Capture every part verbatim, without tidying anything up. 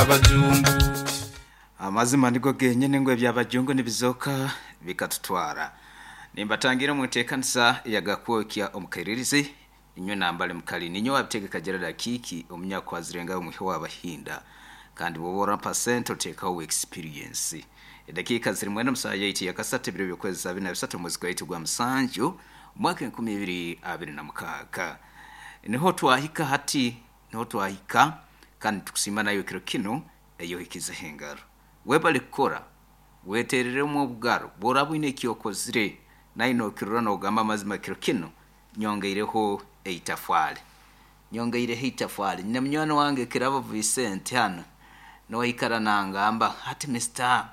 Abajungu. Amazima nigo genyine ngu ebyabajungu nibizoka bikatutwara. Nimbatangira mu nteekanisa yagakwokya omukairirizi inywe nambale mukali ninyo wabitegeka Gerard Kiki omunyakwazirenga omuhi w'abahinda kandi bwoba orampa sente oteekaho experience. Edakiika ziri mwenda musaha yaitu yakasatu ebiro by'okwezi abiri na bisatu omwezi gwaitu gwa musanju omwaka enkumi ibiri abiri na mukaaga. Niho twahika hati, niho twahika kandi tukusiima nayo kiro kinu eyohikizeho engaro. Webale kukora, wetereremu obugaro, bworaba oine ekyokozire naye nokirora nogamba amazima kiro kinu nyongeireho eitafwale. Nyongeireho eitafwale. Nyine munywani wange Kirabo Vincent hano noikara nangamba hati Mister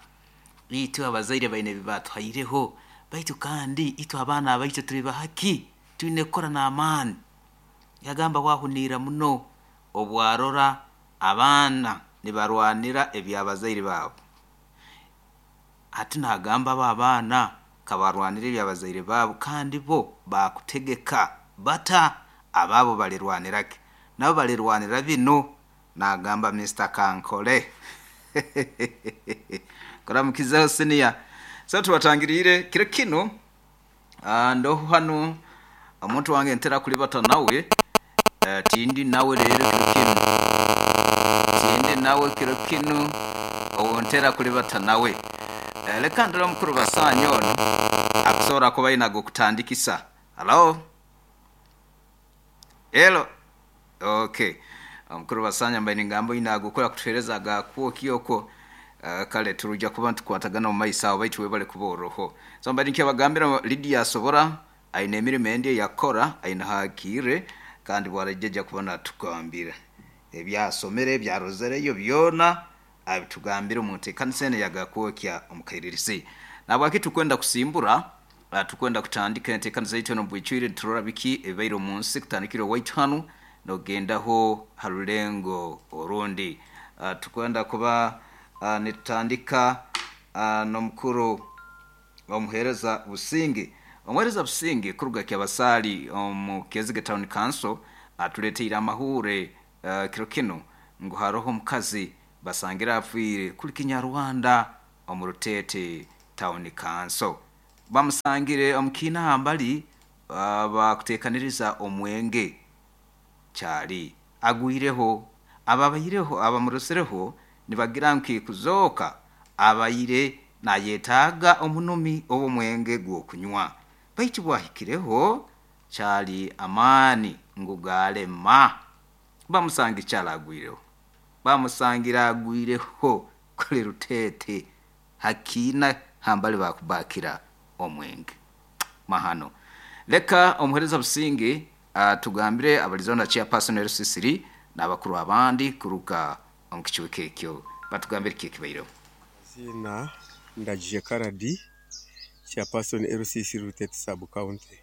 itwe abazaire baine ebibatuhaireho baitu kandi itwe abaana abaitu turi bahaki twine kukora n'amaani. Yagamba wahuniira muno obwarora abaana nibarwanira ebyabazaire baabo. Hati nagamba abo abaana kabarwanira ebyabazaire baabo kandi bo bakutegeka bata abaabo balirwanira ki? Nabo balirwanira bino nagamba Mister Kankole. Kuramukizaho senior. So tubatangiriire kiro kinu ah, ndoho hanu omuntu wange ntera kulibata nawe eh, tindi nawe rero kiro kinu tindi nawe kiro kinu owo ntera kulibata nawe. Eh, leka ndora omukuru basaanya ono akusobola kuba aine ag'okutandikisa. Hello? Hello? Okay. Omukuru basanya mbaine ngambo ine agukora kutuhereza agakwokya okwo. Uh, kale turuja kuba ntukwatagana omu maiso aho baitu webale kuba oroho. So mbaine nkebagambira Lydia asobora aine emirimo endi eyakora aine hakiire kandi bwarajeja kuba natugambira ebyasomere ebyarozereyo byona abitugambire omu nteekanisa eno yagakwokya omukairirizi. Nabwaki tukwenda kusimbura uh, tukwenda kutandika enteekanisa yaitu eno bwicwire niturora biki ebibaire omu nsi kutandikira owaitu hanu nogendaho ha rulengo orundi. Uh, tukwenda kuba uh, nitutandika uh, n'omukuru omuheereza Businge. Omuheereza Businge kuruga Kyabasaali omu Kezige Town Council atuleteire amahure uh, kiro kinu ngu haroho omukazi basangira afiire kuli Kinyarwanda omu Rutete Town Council. Bamusangire omu kiina hambali uh, bakuteekaniriza omwenge kyali agwireho ababaireho abamurusireho nibagira nki kuzooka abaire nayetaaga omunumi ow'omwenge gw'okunywa baitu bwahikireho kyali amaani ngu galema bamusanga ekyali agwireho bamusangira agwireho kuli Rutete hakiina hambali bakubakira omwenge mahano. Leka omuhereza Businge atugambire abalizonda chairperson L C three n'abakuru abandi kuruka omu kicweka ekyo batugambire ki ekibaireho. Zina Ndagije Karadi, chairperson L C three Rutete sub county.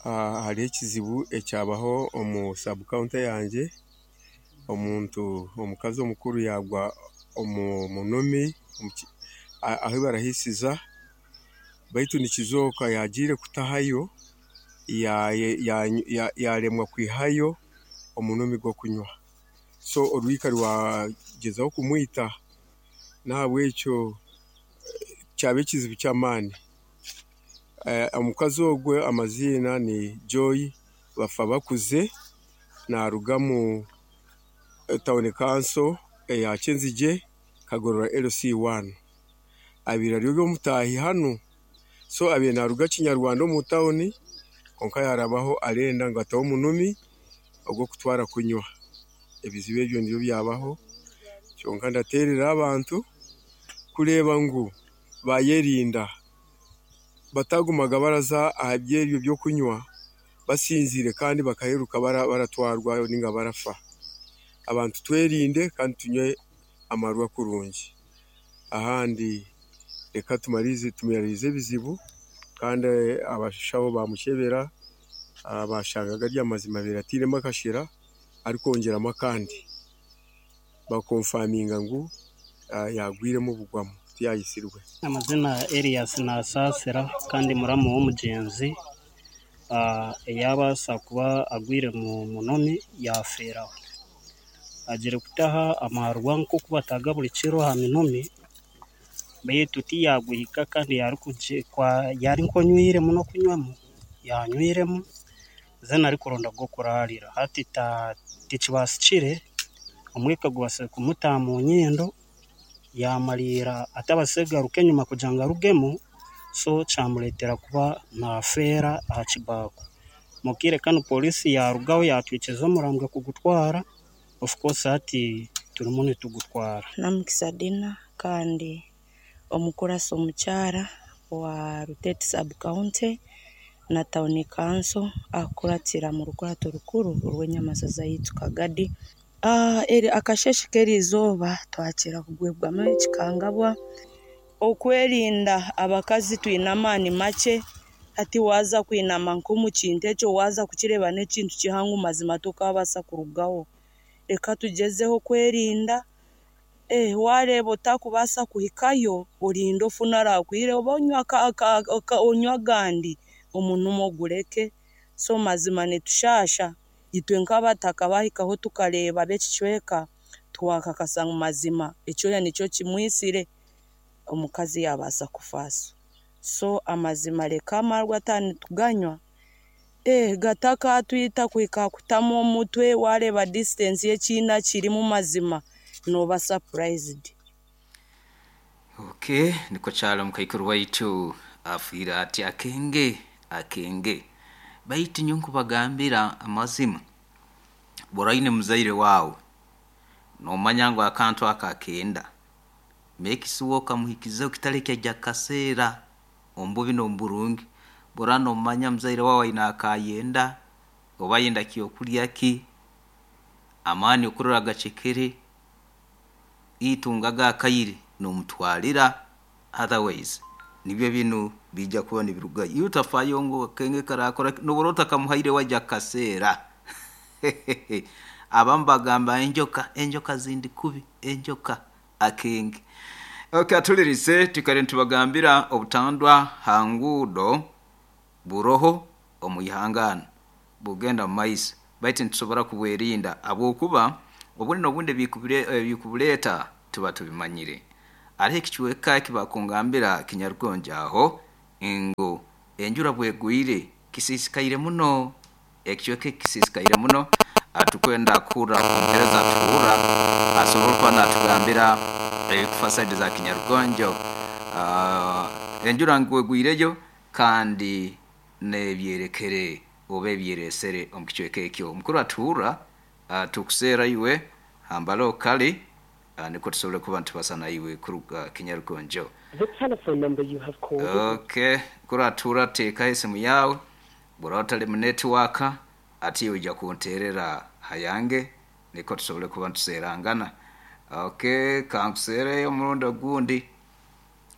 Uh, hariho ekizibu ekyabaho omu sub county yangye, omuntu omukazi omukuru yagwa omu munumi ahu barahisiza baitu nikizooka yagiire kutahayo yaremwa kwihayo omunumi gw'okunywa, so orwika rwagyezaho kumwita, n'ahabw'ekyo kyaba ekizibu ky'amaani. Omukazi ogwe amaziina ni Joy Bafabakuze, naruga mu town council eya Kyenzigye Kagorora L C one. Abaire ari omutaahi hanu, so abaire naruga Kinyarwanda omu tawuni konka yarabaho arenda ngu ateho omunumi ogw'okutwara kunywa. Ebizibu ebyo nibyo byabaho, kyonka ndateerera abantu kureeba ngu bayerinda batagumaga baraza aha by'ebyo by'okunywa basinziire kandi bakaheruka baratwarwa ninga barafa. Abantu twerinde kandi tunywe amarwa kurungi. Ahandi reka tumarize tumaririze ebizibu kandi abashaho bamukyebera bashanga gari amazima biratiremu akashera arikwongyeramu akandi bakonfaminga ngu yagwiremu obugwamu tiyayisirwe. Amazina Elias Nasasira kandi muramu w'omugyenzi eyabaasa kuba agwire mu munoni yafeeraho. Agire kutaha amarwa nk'oku bataga buri kiro aha minumi, beitu tiyaguhika kandi yari nk'onywire muno kunywamu, yanywiremu then arikuronda ag'okurarira. Hati tikibasikire, omwika gubasize kumutaha mu nyindo, yamariira atabasize kugaruka enyima kugira ngu arugemu, so kyamureetera kuba naafeera aha kibaako. Mu kaire kanu pooriisi yaarugaho yatwikiza omurambo kugutwara, of course hati turimu nitugutwara. Namukisa Dina kandi omukurasi omukyara wa Rutete sub-county na town council akuratira mu rukurato rukuru orw'enyamaza zaitu Kagadi. Ah, eri akasheshe k'erizooba twakira kugwebwamu ekikangabwa. Okwerinda abakazi twine amaani makye, hati waaza kwinama nk'omu kintu ekyo waaza kukireeba n'ekintu kihango mazima tokabaasa kurugaho. Reka tugyezeho kwerinda, eh, waareeba otakubaasa kuhikayo orinde ofune arakwire oba onywa onywa agandi omunumo ogureke. So mazima nitushasha itwe nk'abataka bahikaho tukareeba ab'ekicweka twakakasa ngu mazima ekyoya nikyo kimwisire omukazi yabaasa kufaso. So amazima reka amarwa nituganywa eh, gatakatwita kuhika kutamu omutwe wareeba distance y'ekiina kirimu mazima noba surprised. Okay, niko kyalo mukaikuru waitu afiire ati akenge akenge baitu nyo nkubagambira amazima buraine muzaire wawe nomanya ngu akantu aka akenda make sure okamuhikiza okitareki ajya kaseera omububi n'omuburungi bora nomanya muzaire wawe aine akayenda oba ayenda kyokurya ki amaani okurora agacekere itunga gakayire nomutwalira, otherwise nibyo binu bijja kuba nibirugayo. Iyo utafayo ngu akenge karakora nobora otakamuhaire wajya kaseera. Abamu bagamba enjoka enjoka zindi kubi enjoka akenge. Okay, atulirise tukare ntubagambira obutandwa hangudo buroho omwihangana bugenda mu maiso baitu nitusobora kubwerinda abwokuba obundi n'obundi ebikubuleeta tuba tubimanyire. Hariho ekicweka ekibakungambira Kinyarugonjo aho ngu enjura bwegwire kisisikaire muno, ekicweka eki kisisikaire muno. Atukwenda kuhurra omuheereza atuhurra asobora kuba natugambira ebikufa saidi za Kinyarugonjo. Uh, enjura ngu egwireyo kandi n'ebyerekere oba ebyeresere omu kicweka ekyo. Omukuru atuhurra uh, tukuseera iwe hambalo kali uh, niko tusobole kuba nitubasa naiwe kuruga Kinyarugonjo. The telephone number you have called. Okay, kuri atura teekaho esimu yawe bw'oraba otari mu network ati ojja kunteerera hayange niko tusobole kuba nituseerangana. Okay, kankuseereyo omurundi ogundi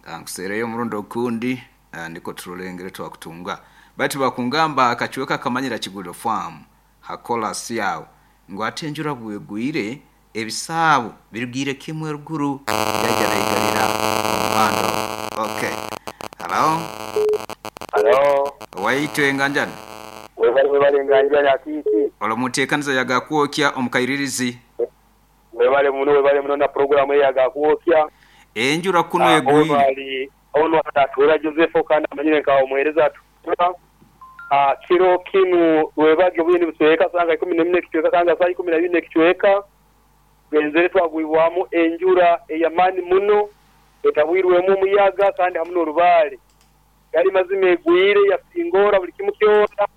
kankuseereyo omurundi ogundi uh, niko turolengere twakutunga. Baitu bakungamba akacweka kamanyira Kiguliro farm hakola syawo ngu ate enjura bwegwire ebisaabo birugire kimwe ruguru yajya naigalira omuhanda. Okay, hello. Halo, waitu enganjani webale webale enganjani akiki. Olomuteekaniza yagakwokya omukairirizi. Webale muno webale muno na programu yagakwokya. Enjura kuno egwire. Webale ono atatuura Joseph kandi amanyire nka omuhereza atuura. Ah, kiro kinu webage obwini busweka sanga ikumi na mine kichweka sanga saa ikumi na bine kichweka. Genzere twagwibwamu enjura eyamani muno etabwirwemu omuyaga kandi hamu n'orubaare. Yali mazima egwire yasingora buli kimu kyona.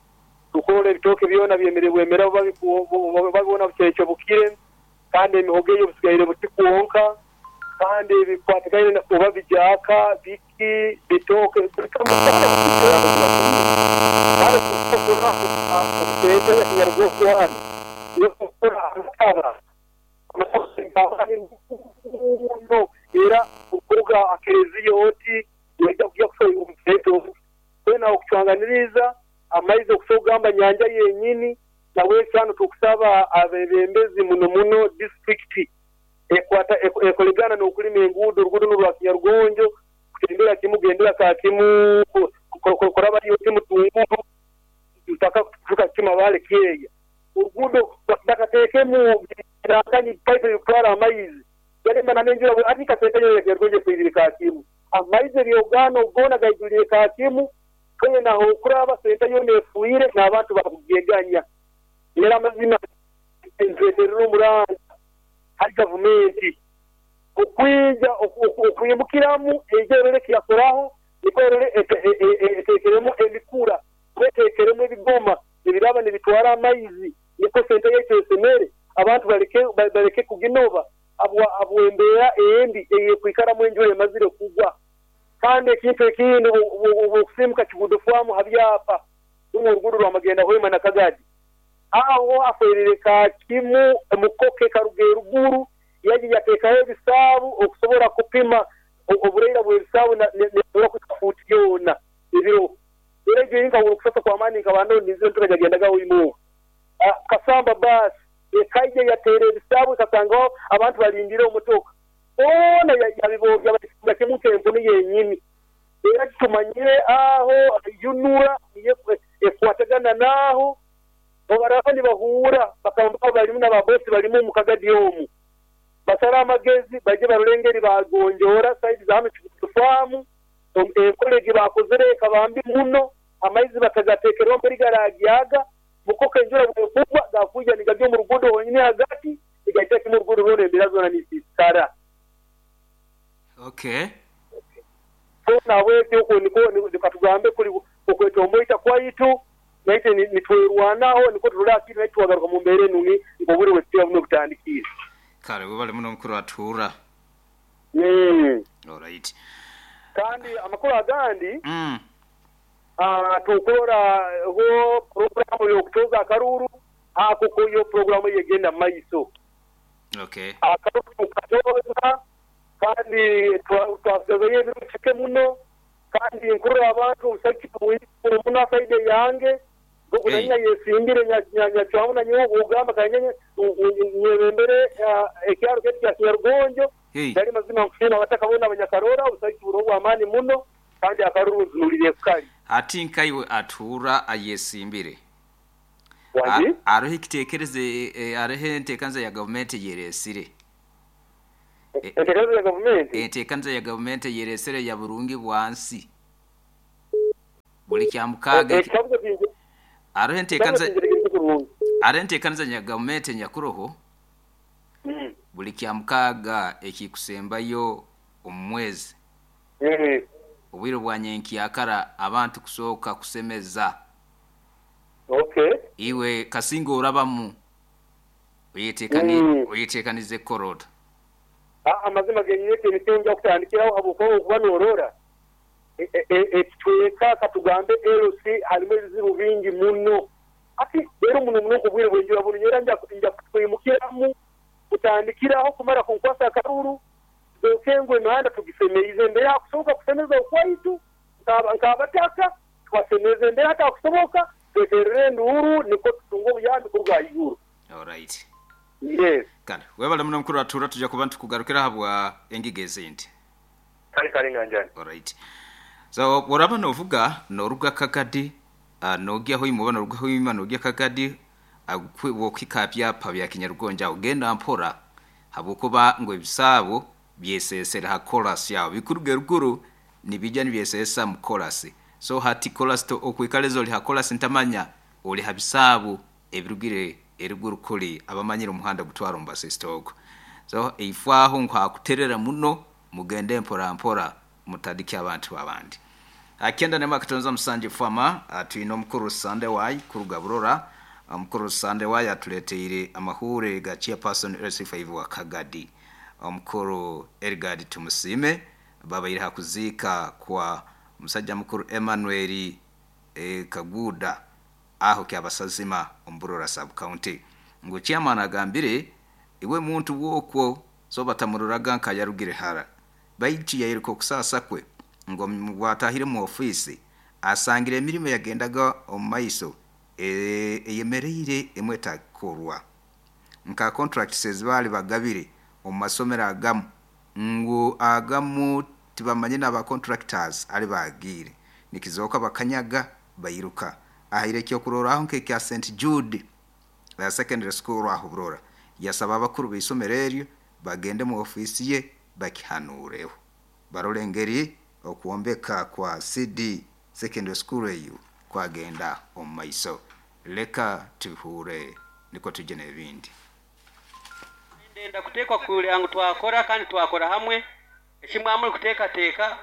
Tukora ebitooke byona byemere bwemera babibona bukyekyo bukire kandi emihogo eyo busigaire buti kwonka kandi ebikwatikaine oba bijaaka biki bitooke buli kamu kandi tukora obuteete Kinyarugonjo yokukora amataba era kuruga akereziya oti yajja kujja kusobola omuteete kwena okucwanganiriza amaizi okusogamba nyanja yenyini nawe kyano tukusaba abebembezi muno muno district ekwata ekolegana n'okulima enguudo oruguudo rwa Kinyarugonjo kutembera kimu gendera ka kimu kuraba yo kimu tunguru mpaka kutuka kima bale kyeya Oruguudo bakateekemu nakanyi pipe yokutwara amaizi. Yarema n'enjura ati kasente yo yagergonje kwirire kakimu. Amaizi ebyogano gona gaijulire kakimu. Kwenye naho okuraba sente yo nefuire n'abantu bakugeganya. Era amazima nzeterera omuranga hari gavumenti okwija okwimukiramu ejerere kiyakoraho niko erere etekeremu emikura etekeremu ebigoma ebiraba nibitwara amaizi niko sente yaitu esemere abantu baleke baleke kuginoba abwa abwembeera embi eyekwikaramu enjura emazire kugwa. Kandi ekintu ekindi okusimuka Kigudo Farm habyapa runo oruguudo rwamagenda Hoima na Kagadi aho aferire kakimu mukoke karuga eruguru yaji yateekaho ebisaabu okusobola kupima obureira bw'ebisaabu nesobora kufuuti yoona ebiro. Era egyo yinka okusasa kw'amaani nkabando nizo ntukajagendaga Hoima. Kasamba basi ekaija yateera ebisaabu ekasangaho abantu balindire omutoka boona yabibogya bakifunga kimu nk'empunu yenyini. Era tumanyire aho yunura ekwatagana naaho obaraba nibahuura bakamba barimu n'ababosi barimu omu Kagadi omu basara amagezi baje barore bagonjora saidi za hano Kigudo Farm enkola egi bakozere ekabambi muno amaizi bakagateekerwa muri garagyaga mukoka enjura bwekugwa gakuija nigajya omu ruguudo honyini hagati igaita kimu oruguudo rwona embeera zoona nisiisikara. Okay. So nabwekyo okwo niko nikatugambe kuri okwetomboita kwaitu naite nitwerwanaho niko turore akiri naitwe twagaruka mu mbeera enungi nk'obwire bwekitiibwa buno butandikire. Kale webale muno mukuru atuura. Mm. Alright. Kandi amakuru agandi mm. ah tukora ho programu y'okutoza akaruru ako ko yo programu yegenda maiso. Okay. Akaruru katoza kandi twasigaye ebiro muno kandi nkurura abantu obusaki muno saide yange gokunanya yesimbire nyacwamu na nyowe ogamba kanyanya nyebembere ekyaro kyetu kya Kinyarugonjo dali mazima nkusina abatakabona abanyakarora obusaki buro bw'amaani muno kandi akaruru nzunulire kukali. Ati nkaiwe atuura ayesimbire aroho ekiteekereze aroho enteekanza ya gavumenti yeresire. Enteekanza ya gavumenti enteekanza ya gavumenti yeresire ya burungi bwansi buli kyamukaaga aroho enteekanza aroho enteekanza ya gavumenti nyakuroho buli kyamukaaga ekikusembayo omu mwezi obwire bwa nyenkyakara abantu kusooka kusemeza. Okay. Iwe kasinga orabamu oyeteekani oyeteekanize korota. Amazima genyine emisingi okutandikiraho habwokuba okuba noorora ekitweka katugambe L C harimu ebizibu bingi muno. Ati rero muno muno obwire bw'enjura buno nyera nja kwimukiramu kutandikiraho kumara kunkwasa akaruru zokengwe emihanda tugisemeize embere hakusoboka kusemeza okwaitu nkabataka twasemeza embere hatakusoboka tweterere enduuru niko tutunga obuyambi kuruga ahaiguru. Alright. Yes. Kale webale muno mukuru atuura tujja kuba ntukugarukira habwa engiga ezindi. Kale kale nganjani. Alright. So woraba novuga noruga Kagadi uh, nogya Hoima oba noruga Hoima nogya Kagadi wokika byapa bya Kinyarugonja ogenda mpora habwokuba ngo ebisaabo byesesera ha chorus yawe bikuruga eruguru nibijja nibyesesa mu chorus. So hati chorus to okwikalezo oli ha chorus ntamanya oli ha bisaabo ebirugire eruguru kuli abamanyire omuhanda gutwara omu So eifwaho nkwakuterera muno mugende mpora mpora mutadike abantu abandi. Akenda nema katonza musanje fama atwine omukuru Sande Wai kuruga Burora. Omukuru Sande Wai atuleteire amahure ga chairperson L C five wa Kagadi. Omukuru Elgard Tumusime babaire hakuzika kwa musajja mukuru Emmanuel e, Kaguda aho kyabasazima omburora sub county. Ngo chairman agambire iwe muntu wokwo so batamururaga nka yarugire hara baiti yayiruko kusasa kwe ngo watahire mu office asangire emirimo yagendaga omumaiso eyemereire emweta korwa nka contracts bali bagabire omu masomero agamu ngo agamu tibamanye n'aba contractors ari bagire nikizoka bakanyaga bayiruka ahire cyo kuroraho nke kya Saint Jude Secondary School aho Burora. Yasaba abakuru b'isomero eryo bagende mu ofisi ye bakihanureho barole engeri okwombeka kwa C D Secondary School eyo kwagenda omu maiso. Leka tuhure niko tujye n'ebindi. Ndenda kuteekwa kugira ngu twakora kandi twakora hamwe ekimwe kuteekateeka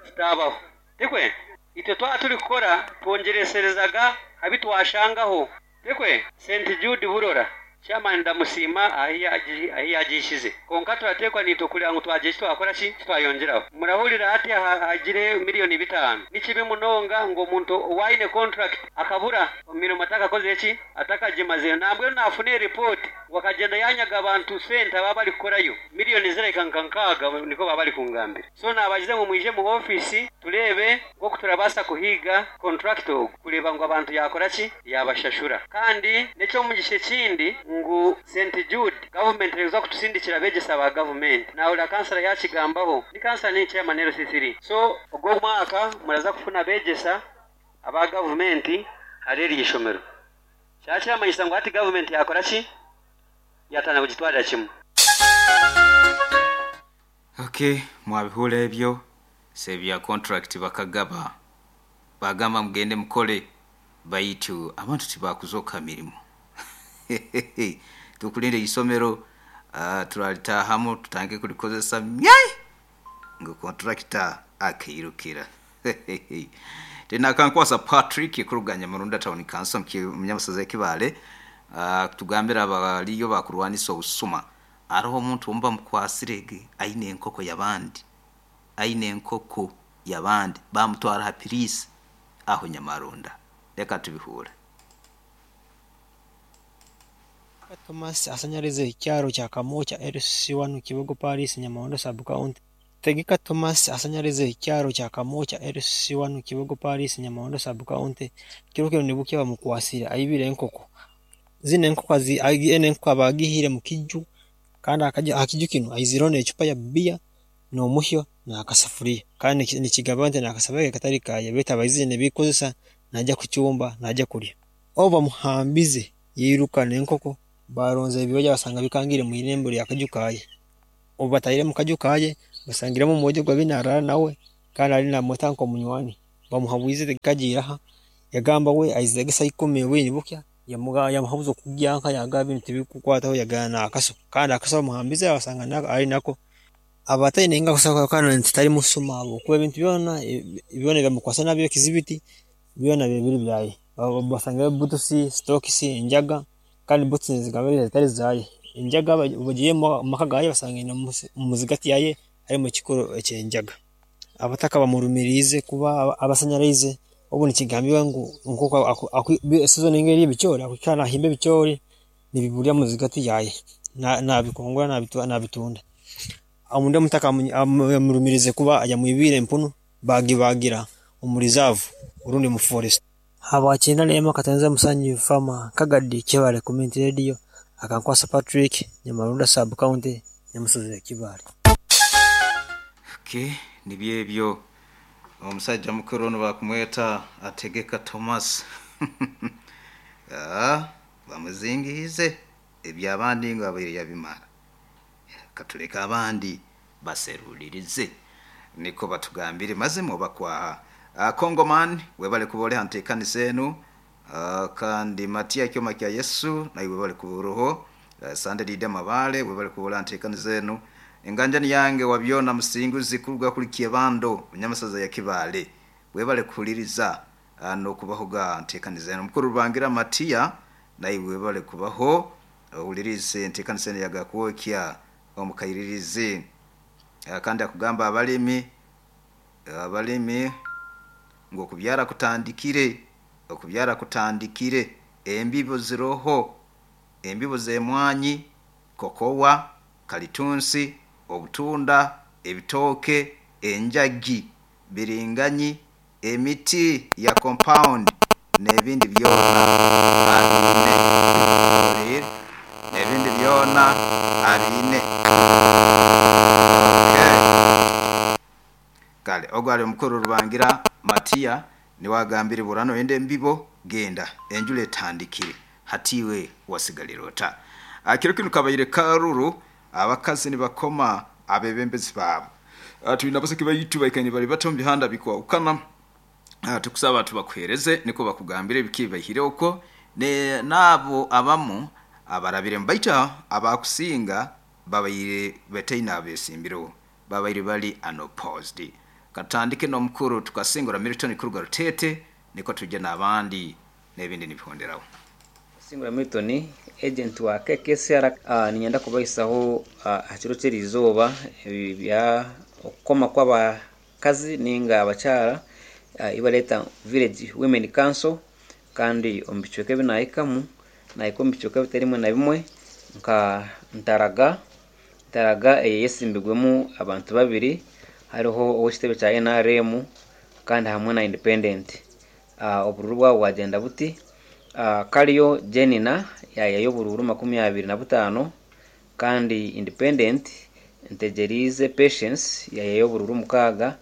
kitabaho tikwe itwe twaba turi kukora twongereserezaga abi twashangaho tikwe Saint Jude Burora chairman ndamusiima ahi yagishize konka turateekwa nitwe kugira ngu twagira eki twakora ki twayongeraho. Murahurira hati hagire miliyoni bitano nikibi munonga ngu omuntu owaine contract akabura emirimo atakakoze eki atakagimazeyo nambwenu nafuna report wakagenda yanyaga abantu sente ababa bari kukorayo miliyoni zireka nka nkaaga niko baba bari kungambira. So nabagize ngu mwije mu ofisi turebe nk'oku turabaasa kuhiga contract ogu kureba ngu abantu yakora ki yabashashura. Kandi n'ekyomugisha ekindi ngu Saint Jude government reza kutusindikira abegyesa ba government nahurira kansala yakigambaho ni kansala ni chairman L C three. So ogwo mwaka muraza kufuna abegyesa aba government hari eri ishomero kyakiramanyisa ngu hati government yakora ki yatana kugitwarira kimwe. Okay, mwabihura ebyo sebya contract bakagaba bagamba mugende mukole baitu abantu tibakuzoka mirimo. Tukulinde isomero uh, turalitahamu tutange kulikozesa myai ngo contractor akirukira. Tena kankwasa Patrick kuruganya Murunda Town Council munyamusaza Kibale uh, tugambira abaliyo bakurwanisa obusuma ariho omuntu omba mukwasirege aine enkoko yabandi aine enkoko yabandi bamutwara ha pirisi aho Nyamarunda. Reka tubihure. Thomas asanyarize ikyaro kya Kamocha L C one Kibogo Paris Nyamarondo sub county. Tegeka Thomas asanyarize ikyaro kya Kamocha L C one Kibogo Paris Nyamarondo sub county. Kiro kiro nibuke bamukwasira ayibire enkoko. Zine enkoko zi ene enkoko abagihire mu kiju kandi akaja akiju kino ayizirone echupa ya bia n'omuhyo n'akasafuriya kandi nikigabante n'akasabege katari kaye beta abayizine bikozesa najya kucyumba najya kulya. Oba muhambize yiruka n'enkoko baronze ebyoya basanga bikangire mu irembo lya kajukaye. Obatayire mu kajukaye basangiramo mwojo gwa binarara nawe kandi ari na mutanko munywani bamuhabuize kagiraha yagamba we aizegesa ikumi we nibukya yamuga yamuhabuzo kugyanka yagabi ntibikukwataho yagana akaso kandi akaso muhambize basanga ari nako abataine inga kusaka kana ntitari musuma abo kuba ebintu byona byona byamukwasa nabyo kizibiti byona bibiri byaye basanga butusi stokisi enjaga kandi butsi zigabere zitari zaye enjaga bagiye maka gaye basanga ina muzigati yaye ari mu kikoro ekyenjaga abataka bamurumirize kuba abasanyarize obu nikigambiwa ngu nkuko season ingeri ebicyori akukana himbe ebicyori nibibulya muzigati yaye na nabikongora nabitwa nabitunda amunde mutaka amurumirize kuba yamwibire empunu bagibagira omurizavu urundi mu forest. Habakina lema katenza musanyi fama Kagadi Kibale Community Radio akankwasa Patrick Nyamarunda sub county nyamusozi Kibale. Okay, nibyebyo omusajja mukuru ono bakumweta Ategeka Thomas. Ah, bamuzingize ebyabandi ngo abiri yabimara katuleka abandi baserulirize niko batugambire maze mu bakwaha. Uh, Kongoman webale kubole hantekanisa enu uh, kandi Matia kyoma kya Yesu na webale kuburoho uh, Sande Dida Mabale webale kubole hantekanisa enu enganjani yange wabyona musinguzi kuruga kuri Kiebando munyamusaza ya Kibale webale kuliriza uh, no kubahoga ntekanisa enu mukuru rubangira Matia na webale kubaho uh, ulirize ntekanisa enu yagakuokya omukayiririze uh, kandi akugamba abalimi abalimi ngo kubyara kutandikire okubyara kutandikire embibo ziroho embibo zemwanyi kokowa kalitunsi obutunda ebitoke enjagi biringanyi emiti ya compound n'ebindi byona abine n'ebindi byona abine. Okay, kale ogwali omukuru rubangira Matia niwagambire burano ende mbibo genda enjule tandikire Hatiwe wasigalira ota? Akiro kinu kabaire karuru abakazi nibakoma abebembezi babo. Tulina baseke baitu baikanye bali bato mu bihanda bikwawukana. Tukusaba tubakuhereze niko bakugambire biki bahire uko ne nabo abamu abarabire mbaita abakusinga babaire betaina abesimbiro babaire bali unopposed. Katandike n'omukuru tukasingura Milton Kuruga Rutete niko tujye n'abandi n'ebindi nibihonderaho. Singura Milton, agent wa K K C R, uh, ninyenda kubaisaho uh, hakiro ky'erizooba bya okukoma kw'abakazi ninga abakyara, uh, ibaleta Village Women Council, kandi omu bicweka ebi nahikamu nahika omu bicweka bitarimwe na bimwe nka Ntaraga. Ntaraga eyesimbirwemu abantu babiri, hariho ow'ekitebe kya N R M kandi hamwe na Independent. Uh, obururu bwabo bwagenda buti. Uh, Kariyo Jenina yayayo obururu makumi abiri na butaano, kandi Independent Ntegerize Patience yayayo obururu mukaaga,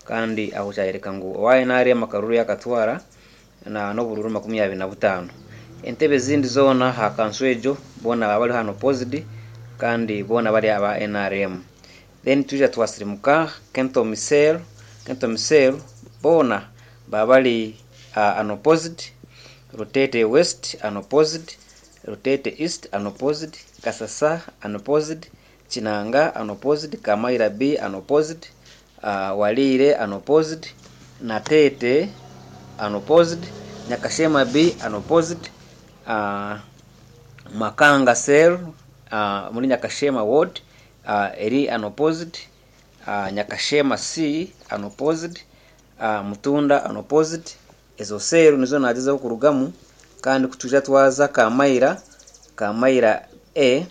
kandi aho kyayereka ngu owa N R M akaruru yakatwara na n'obururu makumi abiri na butaano. Entebe zindi zoona ha kanso ejo boona baba bari hano opposed, kandi boona bari aba N R M. Then tuja twasirimuka Kento Misel, Kento Misel boona baba bari, uh, unopposed, Rutete West unopposed, Rutete East unopposed, Kasasa unopposed, Chinanga unopposed, Kamaira B unopposed, uh, Walire unopposed, Natete unopposed, Nyakashema B unopposed, uh, Makanga Cell, uh, muri Nyakashema Ward, uh, eri unopposed, uh, Nyakashema C unopposed, uh, Mutunda unopposed. Ezo seru nizo nagezaho kurugamu, kandi kutuja twaza Kamaira, Kamaira A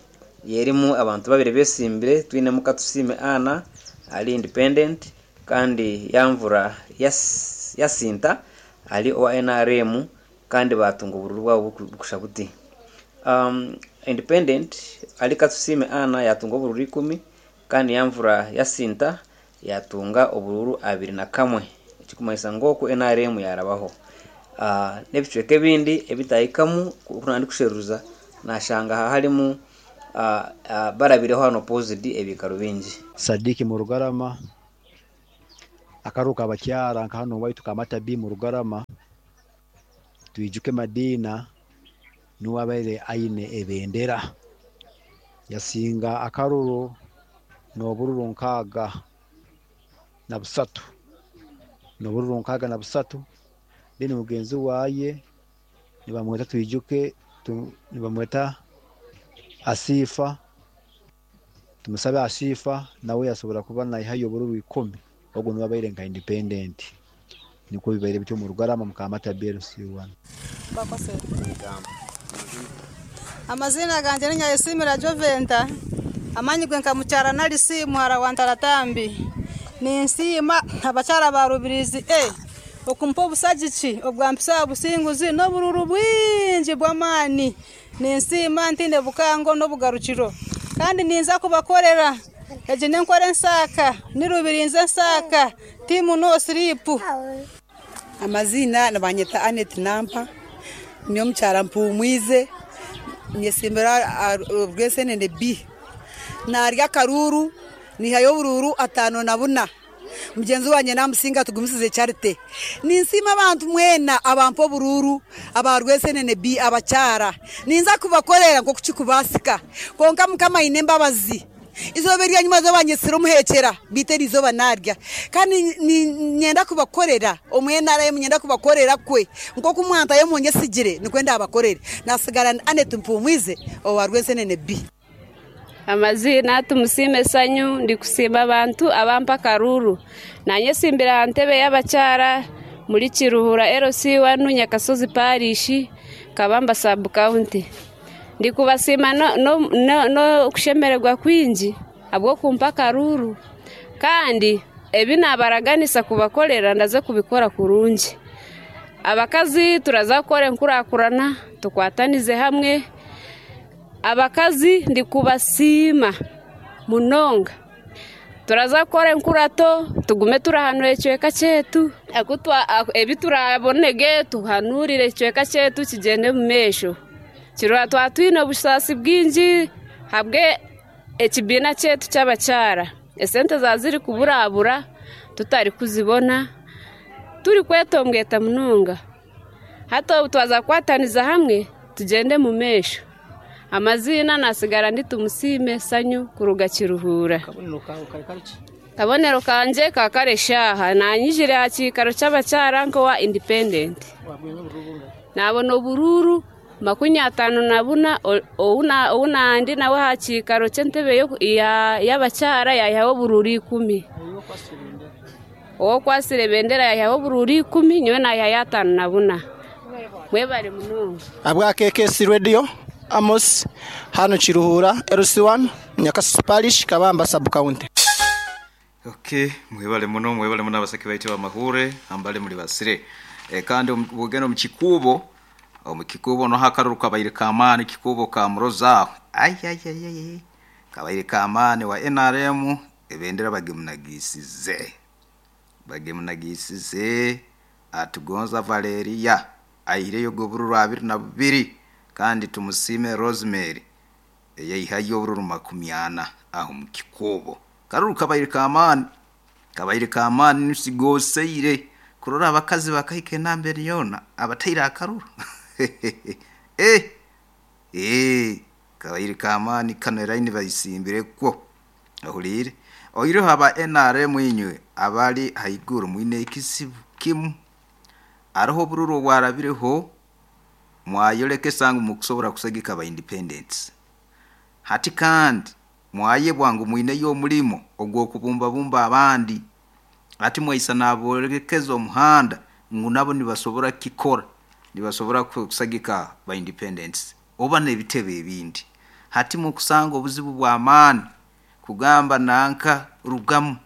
yerimu abantu babiri besimbire, twinemu Katusime Ana ali independent, kandi Yamvura yas, Yasinta ali owa N R M, kandi batunga obururu bwabo bukusha buti. Um, independent ali Katusime Ana yatunga obururu ikumi, kandi Yamvura Yasinta yatunga obururu abiri na kamwe, ekikumanyisa ngu oku N R M yarabaho. Uh, n'ebicweka ebindi ebitahikamu oku kusheruza nashanga harimu, uh, uh, barabireho hano opposite ebikaro bingi. Sadiki mu Rugarama akaruka abakyara nka hano waitu Kamata B mu Rugarama, twijuke Madina nuwabaire aine ebendera yasinga akaruru n'obururu nkaaga na busatu n'obururu nkaaga na busatu. Then mugenzi waye nibamweta twijuke tu, nibamweta Asifa, tumusabe Asifa nawe yasobora kuba nayihayo obururu ikumi, ogwo niwabaire nka independent. Niko bibaire bityo mu Rugarama mu Kamata B L C one. Bakose amazina ganje ni Nyayesimira Joventa, amanyigwe nka mukyara nalisi muhara wa Ntaratambi. Ninsiima abakyara ba Rubirizi eh okumpa obusagiki obwampisa obusinguzi n'obururu bwingi bw'amaani. Ninsiima ntinde bukango n'obugarukiro, kandi ninza kubakorera egi nenkora ensaaka nirubirinze ensaaka timu no sleep. Amazina nabanyeta Anet Nampa, niyo mukyara mpumwize, nyesimbira Rwesenene B, narya karuru nihayo obururu atano na buna. Mugenzi wanje namusinga tugumisize Charite. Ninsima abantu mwena abampa obururu aba Rwesenene B abakyara, ninza kubakorera nko kuchikubasika konka mukama ine mbabazi izoba rya nyuma z'abanyesiro muhekera biteri izoba narya, kandi nyenda kubakorera omwenara yemnyenda kubakorera kwe nko kumwanta yemonye sigire nikwenda abakorere nasigara Anet Mpumwize owa Rwesenene B. Amazina tumusime Sanyu, ndikusima abantu abampa karuru nanye simbira ntebe y'abakyara muri Kiruhura L C one Nyakasozi Parish Kabamba sub county. Ndikubasima no, no, no, no kushemererwa kwingi abwo kumpa karuru, kandi ebi nabaraganisa kubakorera ndaze kubikora kurungi. Abakazi turaza gukora enkurakurana tukwatanize hamwe. Abakazi ndikubasiima munonga, turaza gukora enkurato tugume turahanura ekicweka kyetu, ebi turabonege tuhanurire ekicweka kyetu kigyende mu maisho. Kiruhura twatwine obusaasi bwingi habwe ekibiina kyaitu ky'abakyara. Esente zaziri kuburabura tutari kuzibona, turi kwetombweta munonga. Hati obu twaza kukwataniza hamwe tugende mu maisho. Amazina nasigara ndi Tumusiime Sanyu kuruga Kiruhura. Kabonero kanje kakare shaha nanyijire aha kiikaro ky'abakyara nkowa independent. Nabona obururu makumi atano na buna, owu nandi nawe aha kiikaro ky'entebe y'abakyara yayihaho obururu ikumi. Owokwasire ebendera yayihaho obururu ikumi, nyowe nayihayo atano na buna. Mwebare munonga. Abwa K K C Radio Amos hano Kiruhura L C one Nyakasozi Parish Kabamba sub county. Okay, mwebale muno, mwebale muno abasaki baitu bamahure ambale muri basire. E, kandi bugeno mu kikubo, omu kikubo no hakaruru kabaire kamani kikubo ka muroza. Ay ay ay ay. Kabaire kamani wa N R M ebendera bagemunagisize. Bagemunagisize atugonza Valeria ayireyo gobururu abiri na bubiri kandi tumusime Rosemary eyayihayo obururu makumi ana aho mu kikubo. Karuru kabaire kamani kabaire kamani nsigoseire kurora abakazi bakahike nambere yona abatayira akaruru. Eh eh kabaire kamani kaneraini bayisimbire kwo ahulire oyireho aba N R M inywe abali haiguru mwine ekisibu kimu aroho bururu bwarabireho mwayoleke sangu mukusobora kusagika ba independence. Hati kandi mwaye bwangu mwine yo mulimo ogwo kubumba bumba abandi ati mwaisa naborekeza omuhanda ngu nabo nibasobora kikora nibasobora kusagika ba independence oba nebitebe ebindi. Hati mukusanga obuzibu bwa amani kugamba nanka rugamu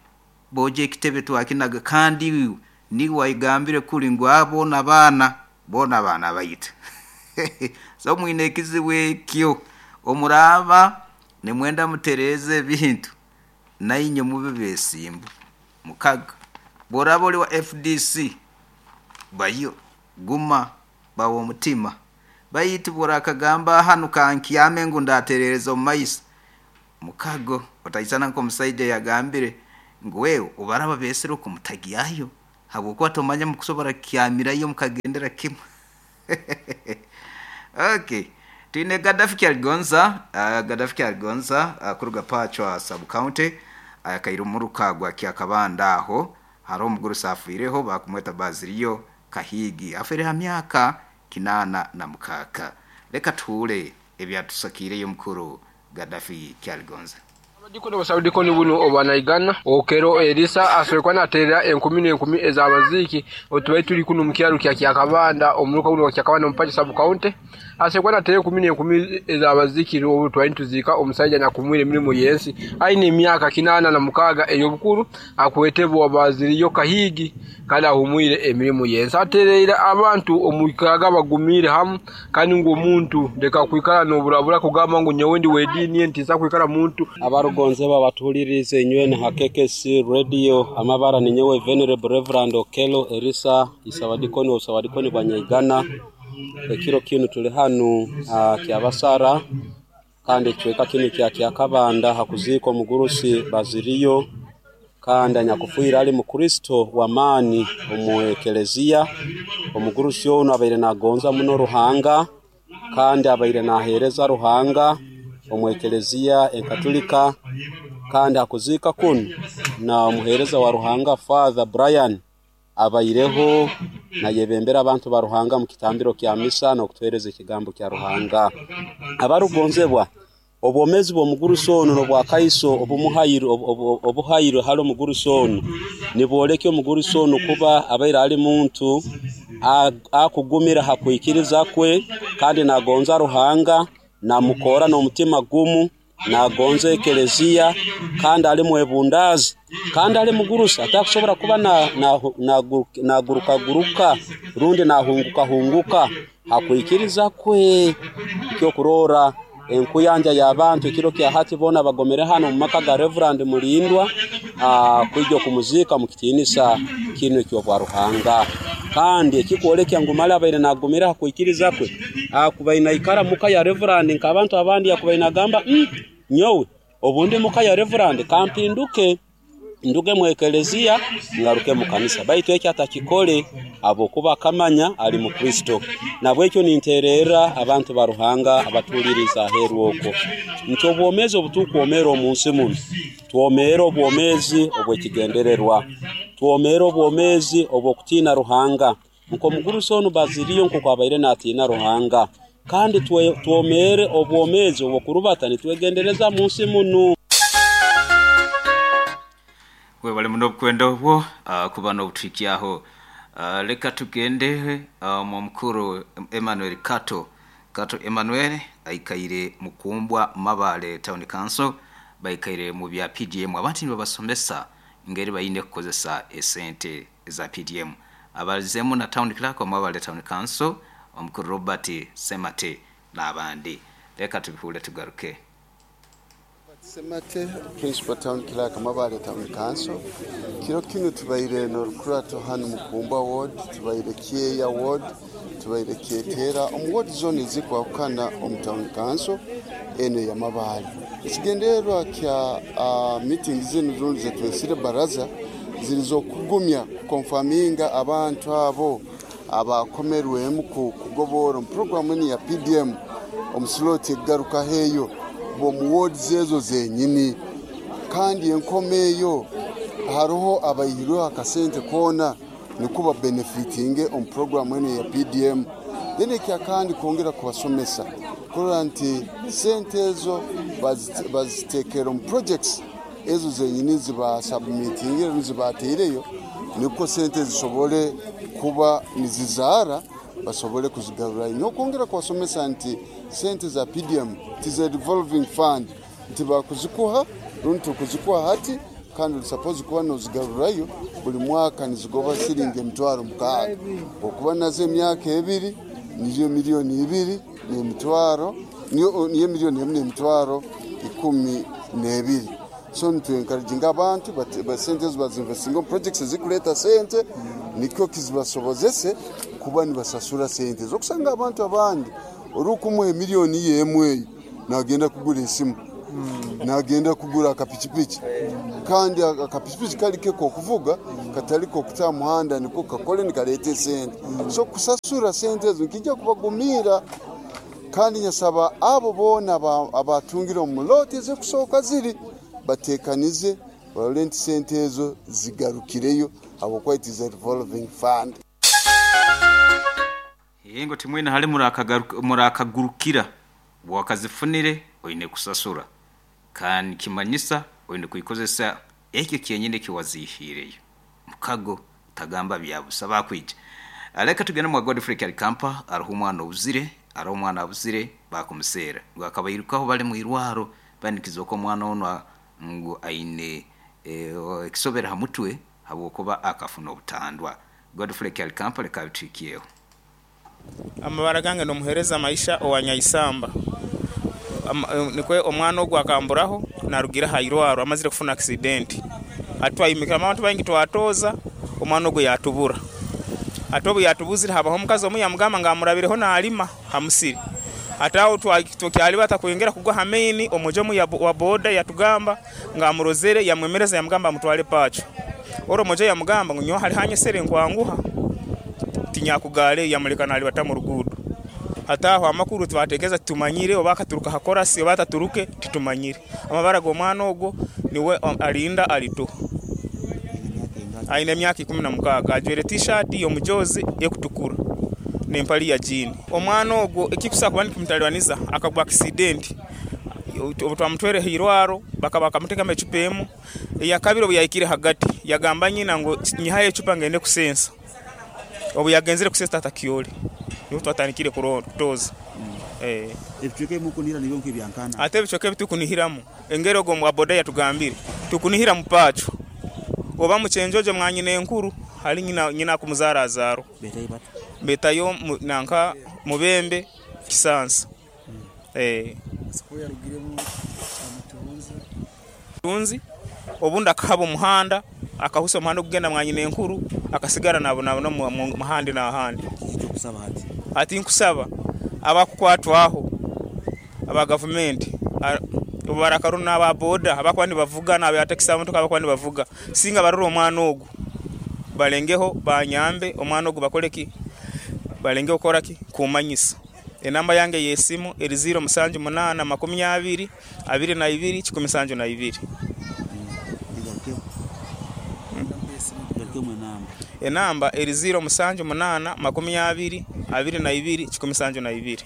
boje ekitebe twakinaga kandi ni waigambire kuri ngu abo nabana bona bana bayita. So mwine ekizibu ekyo omuraba nimwenda mutereze ebintu nainye mube besimbu mukaga. Boraba oli wa F D C bayo guma bawo mutima bayitu borakagamba hanu kankyame ngu ndaterereza omu maiso mukago otaisana nko musaija yagambire ngu wewe obaraba besere okumutagiyayo habwokuba tomanya mukusobora kyamirayo mukagendera kimwe. Okay, twine Gaddafi Kyaligonza, uh, Gaddafi Kyaligonza uh, kuruga Pachwa sub county akaira uh, umuruka gwa Kyakabanda aho hari omugurusi afiireho bakumweta Baziriyo Kahigi afere ha myaka kinana na mukaka. Leka tuule ebyatusakireyo mukuru Gaddafi Kyaligonza. Abadikoni basabudikoni buno obanaigana Okero Elisa asoekwa naterera enkumi n'enkumi ez'abaziki otubaye tuli kuno mu kyalo kya Kyakabanda omuluka guno wa Kyakabanda omu Pacho sub county asoekwa naterera enkumi n'enkumi ez'abaziki obu twali tuzika omusajja nakumwire emirimu yensi aine emyaka kinana na mukaga ey'obukuru akwetebwa Baziriyo Kahigi kandi ahumwire emirimu yensi atereire abantu omukaga bagumire hamu kandi ngu omuntu ndeka kwikara n'oburabura kugamba ngu nyowe ndi wedini ntiza kwikara muntu. Abarugonze babatulirize inywe na K K C Radio amabara ni nyewe Venerable Reverend Okelo Elisa Isabadikoni Osawadikoni Banyaigana. Ekiro kinu tuli hanu uh, kyabasara kandi ekicweka kinu kya Kyakabanda hakuziko omugurusi Baziriyo kandi anyakufuira ali mukristo wa maani omu ekelezia. Omugurusi ono abaire nagonza muno Ruhanga kandi abaire nahereza Ruhanga omu ekelezia enkatulika kandi hakuzika kunu na omuhereza wa Ruhanga Father Brian abaireho na yebembera abantu ba Ruhanga mu kitambiro kya misa n'okutuhereza ekigambo kya Ruhanga. Abarugonzebwa obwomezi bw'omugurusi ono n'obwakaiso obumuhairo obuhairo hali omugurusi ono niboleke omugurusi ono kuba abaire ali muntu akugumira hakwikiriza kwe kandi nagonza Ruhanga namukora n'omutima gumu nagonza ekelezia kandi ali mwebundazi kandi ali mugurusi atakusobora kuba na naguruka guruka rundi nahunguka hunguka hakwikiriza kwe. Ekyokurora enkuyanja y'abantu ekiro kya hati bona bagomere hano mu maka ga Reverend Mulindwa kwijja kumuzika mu kitiinisa kino eky'obwa Ruhanga. Kandi ekikwolekya ngu mali abaire nagumira hakwikiriza kwe Akubaina ikara muka ya reverend nkabantu abandi yakubaina gamba mm, nyowe obundi muka ya reverend kampinduke nduge mu ekelezia ngaruke mu kanisa, baitu ekyo atakikole abo kuba kamanya ali mu Kristo. Nabwekyo ninterera abantu ba Ruhanga abatuliriza aheru okwo nti obwomezi obutukwomera omunsi muno twomera obwomezi obwekigendererwa, twomera obwomezi obwokutina Ruhanga nko mugurusi onu baziriyo nko kwabaire natina Ruhanga, kandi twomere obwomezi obwokurubata nitwegendereza munsi muno. Webale muno obukwenda obwo uh, kuba n'obutuhikyaho. Uh, leka tugende uh, mu mukuru Emmanuel Kato. Kato Emmanuel aikaire Mukumbwa Mabale Town Council, baikaire mu bya P D M. Abantu nibabasomesa ngeri bayine kukozesa esente za P D M. Abalizemu na Town Clerk wa Mabale Town Council omukuru Robert Semate n'abandi. Leka tubihule tugaruke. Semate, Principal Town Clerk, Mabale Town Council. Kiro kino tubaire n'orukurato hanu Mukumba Ward, tubaire Kieya Ward, tubaire Kietera, omu ward zone ezikwahukana omu Town Council eno ya Mabale. Ekigendererwa kya uh, meeting zino zone zetwesire baraza zilizokugumya kukonfaminga abantu abo abakomerwemu kugobora mu programu eni ya P D M omusiloti egaruka heyo bo mu wards ezo zenyini, kandi enkomeyo haroho abayirwe akasente kona nikuba benefitinge on program ene ya P D M. Then ekya kandi kongera kubasomesa kurora nti sente ezo bazitekera mu projects ezo zenyini ziba submitinge zibateireyo niko sente zisobole kuba nizizara basobole kuzigarura. Nokongera kubasomesa nti sente za P D M tize revolving fund nti bakuzikuha runtu kuzikuha hati kandi suppose kuba nozigarurayo buli mwaka nizigoba siringi emitwaro mukaaga, okuba nazo emyaka ebiri niyo miliyoni ibiri n'emitwaro niyo niyo miliyoni emu n'emitwaro ikumi n'ebiri. So nitwencouraginga abantu basente bazinvestinga projects ezikuleta sente nikyo kizibasobozese kuba nibasasura sente zokusanga abantu abandi orukumuha miliyoni yemwe nagenda kugura esimu, nagenda kugura akapichipichi, kandi akapichipichi kali keko kuvuga kataliko kuta muhanda niko kakole nikalete sente. So kusasura sente ezo nkijja kubagumira, kandi nyasaba abo bona abatungira omuloti ezikusoka ziri batekanize barole nti sente ezo zigarukireyo abo quite is a revolving fund. Yengo timwena hali murakagurukira wakazifunire oine kusasura kandi kimanyisa oine kuikozesa ekyo kyenyine kiwazihireyo mukago tagamba byabusa bakwije. Aleka tugenda mu Godfrey Kalikampa ariho umwana obuzire ariho umwana abuzire bakumusera ngo akabayirukaho bali mu irwaro banikizo ko umwana ono ngo aine ekisobera e, hamutwe habwokuba akafuna obutandwa. Godfrey Kalikampa leka bitukiyeho. Amabara gange nomuhereza maisha owanyaisamba nikwe omwana ogwo akamburaho narugira hairwaro amazire kufuna accident atwayimikira abantu bangi twatoza omwana ogwo yatubura atobu yatubuzira habaho omukazi omu yamugamba nga amurabireho nalima hamusiri atawo twakyali batakwengera kugwa hameni omujomu ya wa boda yatugamba nga amurozere yamwemereza yamugamba amutwale pacho oro mojo yamugamba ngo nyo hali hanyesere nkwanguha tinyakugale yamuleka nali batamu rugudo ataho amakuru twatekeza tumanyire obakaturuka hakorasi obataturuke titumanyire amabara go mwana ogwo niwe alinda alito aine myaka ikumi na mukaaga ajwere t-shirt yomujozi ekutukura nempali ya jean. Omwana ogwo ekikusa kuba nikimutalibaniza akagwa accident obutwamutwere hirwaro bakaba bakamuteka ecupa emu eyakabiri obuyayikire hagati yagamba nyina ngo nyihaye ecupa ngende kusensa obu yagenzere kusensa tata kioli niho twatandikire kutoza. Eh ebichweke mukunira nibyo nk'ibyankana ate ebichweke bitukunihiramu engero go mu aboda yatugambire tukunihira mupacho oba muchenjoje mwanyine enkuru hali nyina nyina kumuzara azaro betayo nanka mubembe kisansa. Mm. Eh tunzi obundi akahaba omuhanda akahusa omuhanda okugenda mwanyine enkuru akasigara nabo nabo muhandi na handi. Ati nkusaba Abakukwatwaho aba gavumenti obarakaru n'aba boda abakuba nibavuga n'abatakisi abamotoka abakuba nibavuga, singa barora omwana ogu balengeho banyambe omwana ogu bakoleki balengeho kukoraki kumanyisa. Enamba yange y'esimu eri ziro musanju munaana makumi abiri abiri na ibiri kikumi nsanju na ibiri. Enamba eri ziro musanju munaana makumi abiri abiri na ibiri kikumi nsanju na ibiri.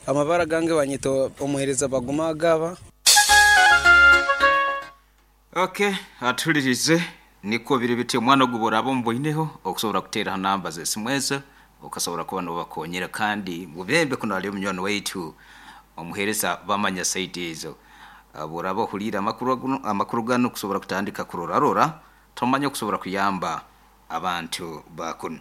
Amabara gange banyita omuhereza Baguma Agaba. Okay, atulirize niko biri biti omwana ogubora abo mboineho okusobora kuteera namba z'esimu ezo okasobora kuba nobakonyera, kandi mubembe kuno ali omunywani waitu omuhereza bamanya saidi ezo. Boraba ohurira amakuru amakuru gano kusobora kutandika kurorarora tomanya okusobora kuyamba abantu bakuno.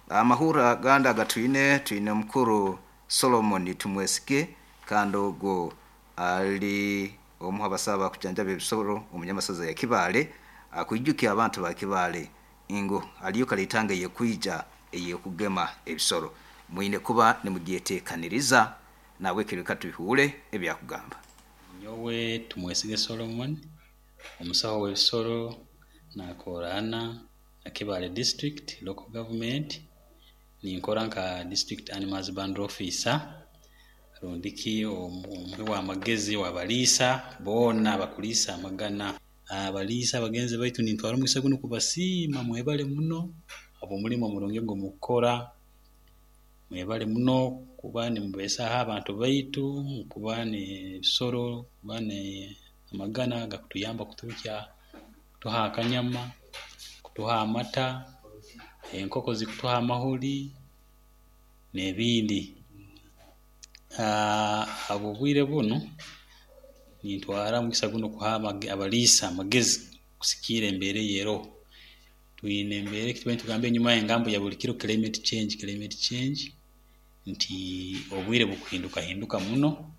Amahura ganda gatwine twine mukuru Solomon Tumwesige, kandi ogwo ali omuha basaba kujanjaba ebisoro omunyamasaza ya Kibale, akwijukia abantu ba Kibale ingo aliyo kalitanga yekwija eyekugema ebisoro mwine kuba nimugyetekaniriza nawe kireka tuhure ebyakugamba. Nyowe Tumwesige Solomon, omusaho w'ebisoro nakorana na Kibale district local government, ninkora nka district animal husbandry officer, rundiki omuhi wa magezi wabaliisa boona bakuliisa amagana. Abaliisa bagenzi baitu nintwara omugisa gunu kubasiima, mwebale muno habw'omulimo omurungi ogu mukukora, mwebale muno kuba nimubeesaho abantu baitu, kuba n'ebisoro, kuba n'amagana gakutuyamba kuturukya kutuha akanyama, kutuha amata, enkoko zikutuha amahuri n'ebindi. Aa habw'obwire bunu nintwara omugisa gunu kuha abaliisa amagezi kusikiira embeera eyeeroho. Twine embeera ekitubaire nitugamba enyuma engambo ya buli kiro climate change climate change nti obwire bukuhindukahinduka muno,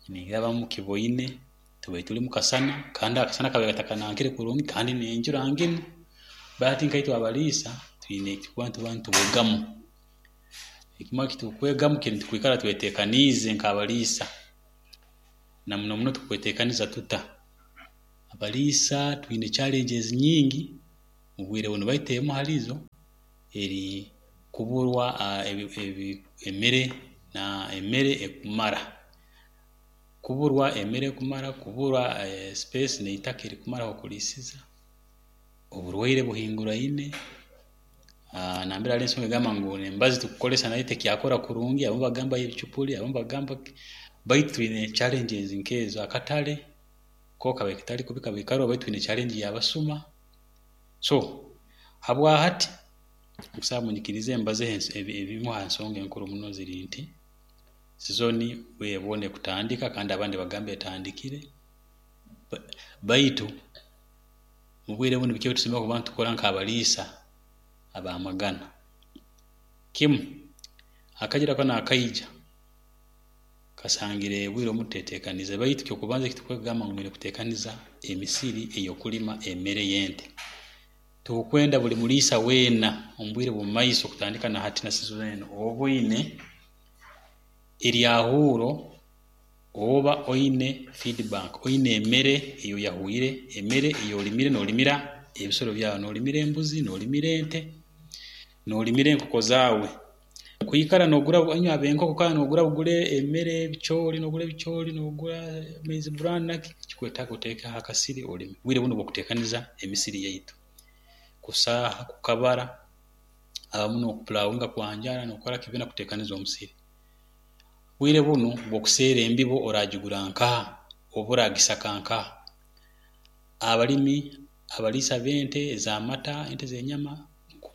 ningira abamu mukiboine tubaire tuli mu kasana kandi akasana kabaire katakanankire kurungi kandi n'enjura nginu, bati nkaitwe abaliisa twine ekitukuba nituba nitwegamu. Ekimwe ekitukwegamu kiri nti kwikara twetekaniize nk'abaliisa, na muno muno tukwetekaniza tuta? Abaliisa twine challenges nyingi mu bwire bunu baitu emu halizo eri kuburwa ebi ebi emere na emere ekumara, kuburwa emere ekumara, kuburwa space n'itaka erikumara h'okuliisiza, oburwaire buhinguraine, aa nambere hariho ensonga egamba ngu n'embazi tukukozesa nayo tekyakora kurungi, abamu bagamba y'ebicupuli, abamu bagamba ki, baitu twine challenges nk'ezo. Akatale ko kabaire katali kubi kabaire karoho baitu twine challenge y'abasuma. So habwahati nkusaba munyikirize mbazeho ebimu ha nsonga enkuru muno ziri nti sizoni bwire bwona ekutandika kandi abandi bagamba etandikire, baitu mu bwire bunu biki ebitusemeriire kuba nitukora nk'abaliisa ab'amagana? Kimu, akajura kanu akaija kasangire obwire obumu tuteetekaniize, baitu ekyokubanza ekitukwegamba ngu mwine kuteekaniza emisiri ey'okulima emere y'ente. Tukwenda buli muliisa weena omu bwire bw'omu maiso kutandika na hati na sizoni enu oba oine eryahuuro oba oine feed bank, oine emere ei oyahwire, emere ei olimire noolimira ebisoro byawe, noolimira embuzi, noolimira ente, noolimira enkoko zaawe. Kwikara noogura inywe ab'enkoko kwikara noogura bugure emere ebicooli, noogura ebicooli, noogura maize bran naki, kikwetaaga oteekeho akasiri olime. Bwire bunu bw'okuteekaniza emisiri yaitu, kusaaha, kukabara, abamu n'okupulawinga kwanjara n'okukora ki byona kuteekaniza omusiri. Bwire bunu bw'okuseera embibo oraagigura nkaha oba oraagisaka nkaha? Abalimi abaliisa b'ente ez'amata, ente z'enyama,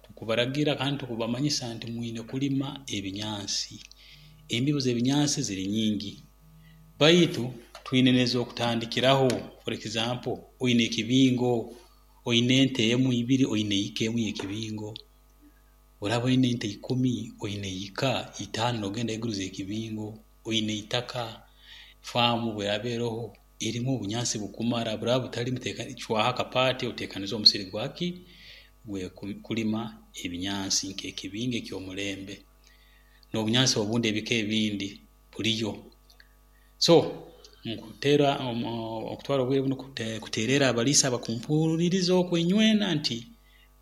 tukubaragira kandi tukubamanyisa nti mwine kulima ebinyansi. Embibo z'ebinyansi ziri nyingi, baitu twine n'ez'okutandikiraho. For example, oine ekibingo, oine ente emu ibiri, oine eka emu y'ekibingo, oraaba oine ente ikumi, oine eka itaano noogenda haiguru z'ekibingo, oine itaka, faamu obu eraaba eroho erimu obunyansi bukumara, buraaba butalimu teeka cwaho akapaati oteekanize omusiri gwaki? Gwe kulima ebinyansi nk'ekibingo eky'omulembe n'obunyansi obundi, ebika ebindi buliyo. So nkuteera okutwara obwire bunu kuteererra abaliisa abakumpuliriza oku inywena nti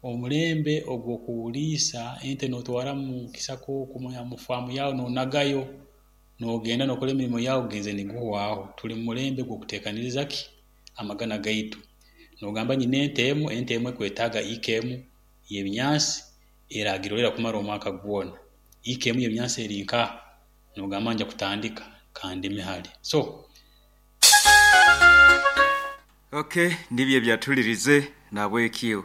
omulembe ogw'okuliisa ente nootwara mu kisaka oku mu faamu yaawe noonagayo, noogenda nookora emirimo yaawe, gugenzere niguhwaho. Tuli mu mulembe gw'okuteekaniriza ki amagana gaitu. Noogamba nyina ente emu, ente emu ekwetaaga eka emu y'ebinyansi eraagirolerra kumara omwaka gwona. Eka emu y'ebinyansi eri nkaha? Noogamba ngya kutandika kandime hali so. Okay, nibyo ebyatulirize. Nabwekyo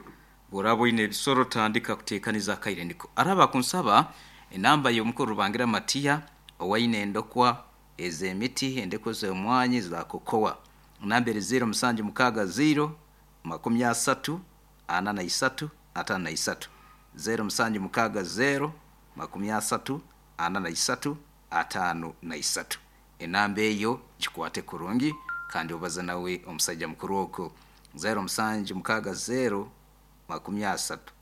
bworaba oine ebisoro, tandika kuteekaniza, akaire niko araba kunsaba enamba y'omukuru Rubangira Matiya owaine endokwa ez'emiti, endeko z'omwanyi za kokowa. Namba eri ziro musanju mukaaga ziro makumi asatu ana na isatu atano na isatu, zero musanju mukaaga zero makumi asatu ana na isatu atano na isatu. Enamba eyo gikwate kurungi kandi obaze nawe omusajja mukuru okwo, zero musanju mukaaga zero makumi asatu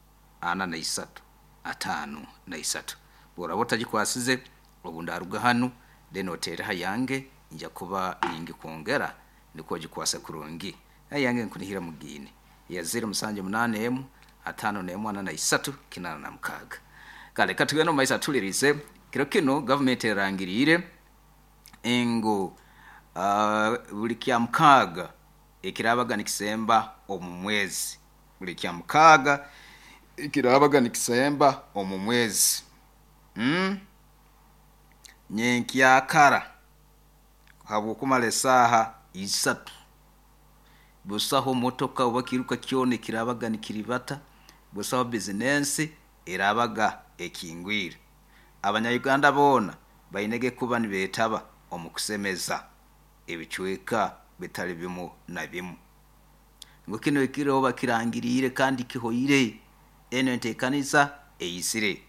ana na isatu atano na isatu. Bworaba otagikwasize, obu ndaruga hanu then oteereho yange, nja kuba ningikwongera nikwo ogikwase kurungi. Ayange nkunihira mugiine ya zero musanju munaana emu atano n'emu ana na isatu kinana na mukaaga. Kale katugende omu maiso atulirize. Kiro kinu gavumenti erangiriire ngu uh, buli kya mukaaga ekirabaga nikisemba omu mwezi, buli kya mukaaga ekirabaga nikisemba omu mwezi, mm? nyenkyakara habwokumara esaaha isatu, busaho motoka oba kiruka kyona ekirabaga nikiribata, busaho bizinensi erabaga ekingwire. Abanyayuganda boona bainege kuba nibeetaba omu kusemeza ebicweka bitali bimu na bimu, ngu kino ekiro bakirangiriire kandi kihoire. Eno enteekaniza eyisire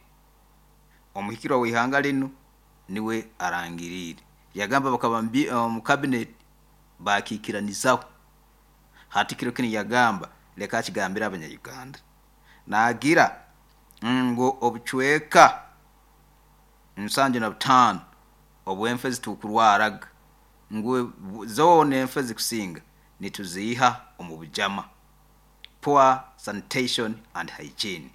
omuhikirwa w'ihanga linu niwe arangiriire, yagamba bakaba omu cabinet bakiikiranizaho. Hati kiro kinu yagamba leka akigambire Abanyayuganda, naagira ngu obucweka nsanju na butaano obw'enfe zitukurwaraga, ngu zoona enfe zikusinga nituziiha omu bujama, poor sanitation and hygiene.